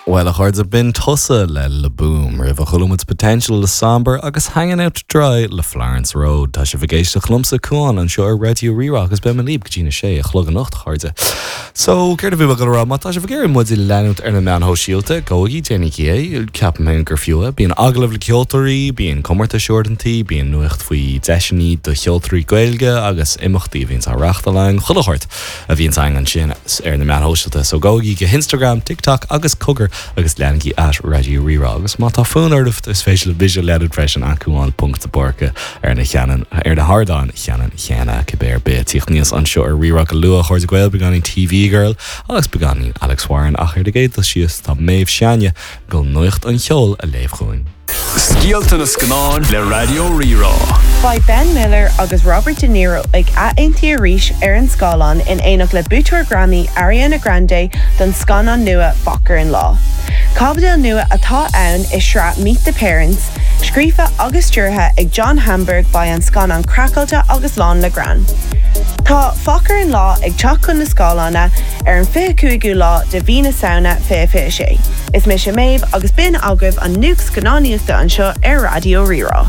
Bhuel, a chairde, b'in Tusa le Le Boom, roimhe chuala muid Potential le Sombre agus Hanging Out to Dry le Florence Road. Tá sibh ag éisteacht liomsa, Cuán, anseo ar Raidió Rí-Rá agus beidh mé libh go dtí na sé a chlog anocht, a chairde. So, céard a bhí mé ag dul a rá? Má tá sibh ag iarraidh muid a leanúint ar na meáin shóisialta, gabhaigí, déanaigí é, ceapaim féin gur fiú é. Bíonn agallaimh le ceoltóirí, bíonn comórtais uaireantaí, bíonn nuacht faoi deiseanna do cheoltóirí Gaeilge agus imeachtaí a bhíonns á reáchtáil againn, chuile shórt. a bhíonns againn ansin ar na meáin shóisialta. So gabhaigí go hInstagram, TikTok agus cogar agus leanaigí at Raidió Rí-Rá. Agus má tá fonn oraibh is féidir libh mise a leanúint freisin at Cuán ponc de Búrca ar na cheanann ar na hardáin cheanann chéanna cibé ar bith. Tíocht aníos anseo ar Rí-Rá go luath, a chairde Gael, beagáinín TV Girl agus beagáinín Alex Warren ach ar an gcéad dul síos tá Méabh Seánie ag dul nuacht an cheoil a léamh chugainn. Scéalta na Scannán le Raidió Rí-Rá. Beidh Ben Miller agus Robert De Niro ag athaontú arís ar an scáileán in éineacht le buaiteoir Grammy Ariana Grande don scannán nua Focker in Law. Caibidil nua atá ann i sraith Meet the Parents, scríofa agus stiúrtha ag John Hamburg beidh an scannán craiceáilte agus lán le greann. Tá Focker in Law ag teacht chun na scáileána ar an 25ú lá de mhí na Samhna 2026. Is mise Méabh agus b'in agaibh an nuacht scannánaíochta anseo ar Raidió Rí-Rá.